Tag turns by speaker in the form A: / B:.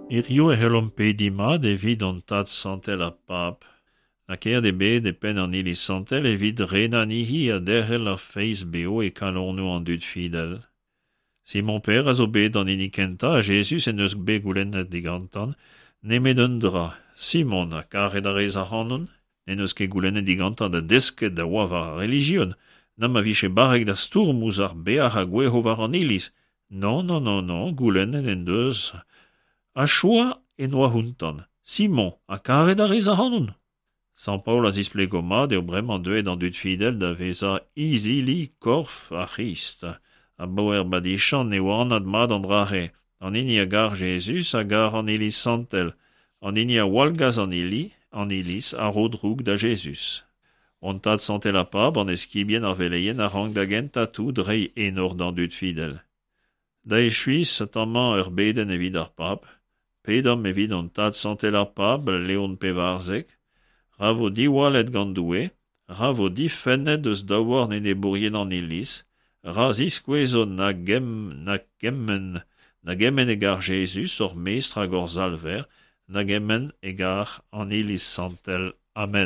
A: Hirio e c'hellomp pediñ mat evit hon Tad Santel ar Pab, lakaet eo bet e penn an Iliz Santel evit renañ anezhi ha derc'hel ar feiz beo e kalonoù an dud fidel. Simon Pêr a zo bet an hini kentañ ha Jezuz en deus bet goulennet digantañ nemet un dra, Simon, ha karet a rez ac'hanon? N'en deus ket goulennet digantañ da desket da oa war ar relijion, na ma vije barrek da stourm ouzh ar beac'h a gouezho war an Iliz. Non, non, non, non, goulennet en deus ha choaz en oa ountan. Simon, ha karet a rez ac'hanon? Sant Paol a zisplego mat eo bremañ deuet an dud fidel da vezañ izili korf ar C'hrist. Abaoe ar badichant eo anat mat an dra-se. An hini a gar Jezuz a gar an Iliz santel. An hini a wallgas an Ili, an Iliz a ro droug da Jezuz. Hon Tad Santel ar Pab, an eskibien, ar veleien a rank da gentañ tout reiñ enor d'an dud fidel. Da echuiñ, setu-amañ ur bedenn evit ar Pab. Pedomp evit hon Tad Santel ar Pab, Leon Pevarzek. Ra vo diwallet gant Doue, ra vo difennet eus daouarn enebourien an Iliz, ra ziskouezo na gemm na kement na gement e gar Jezuz, hor Mestr hag hor Salver, na gement e gar an Iliz Santel. Amen.